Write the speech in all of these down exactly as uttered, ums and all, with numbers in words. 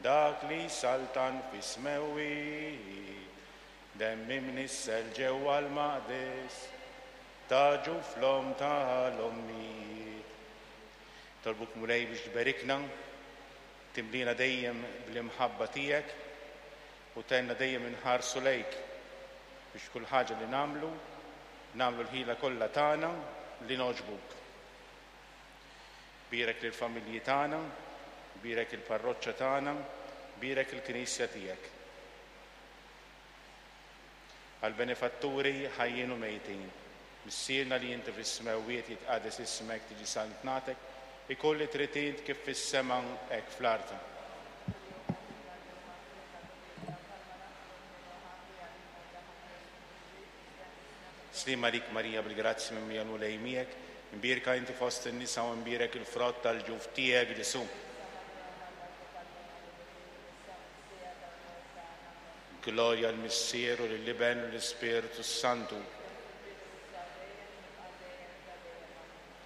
Dak li saltan fis-smewwiet, demm imnissel ġewwa l-maqdes, ta' ġuf l-omm tal-ommijiet. Nitolbuk, Mulej, biex tberikna, timlina dejjem bl-imħabba tiegħek u tgħinna dejjem inħarsu lejk biex kull ħaġa li nagħmlu, nagħmlu l-ħila kollha tagħna li nogħġbuk. Bierek lill-familji tagħna, bierek il-parroċċa tagħna, bierek il-Knisja tiegħek. Għal-benefatturi ħajjin u mejtin, Missierna li inti fis-smewwiet, jitqaddes ismek, tiġi saltnatek, ikun li trid int kif fis-sema hekk fl-art. Sliem għalik Marija, bil-grazzja mimlija, Mulej miegħek, imbierka inti fost in-nisa u imbierek il-frott tal-ġuf tiegħek, Ġesù. Glorja l-Missier u lill-Iben u l-Ispirtu Santu.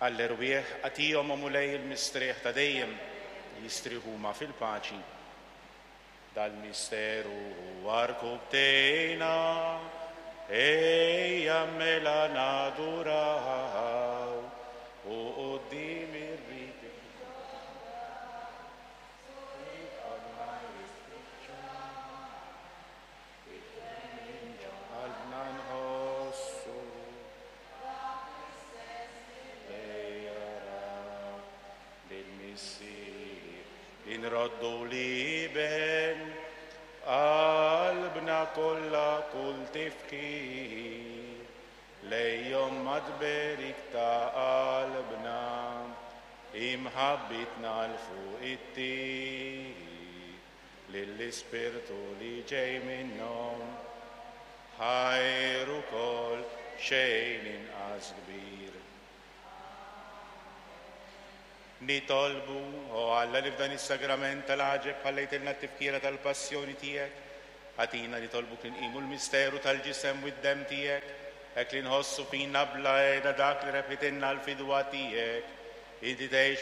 Għall-erwieħ agħtihom, o Mulej, il-mistrieħ ta' dejjem, jistrieħu huma fil-paċi. Dal-misteru għarkubtejna, ejja mela naduraw u quddiem ir-riti. Qalbna nħossu lejjara lill-Missier inroddu l-Iben qalbna kollha kull tifħir lejhom madberik ta' qalbna imħabbitna 'l fuq it-tir lill-Ispirtu li ġej minnhom ħajr ukoll xejn inqas kbir. Nitolbu, o Alla, li f'dan is-sagrament tal-għaġeb ħallejtilna t-tifkira tal-passjoni tiegħek, agħtina nitolbuk li nqimu l-misteru tal-ġisem u d-demm tiegħek, hekk li nħossu fina bla heda dak li rebħitilna l-fidwa tiegħek. Inti tgħix u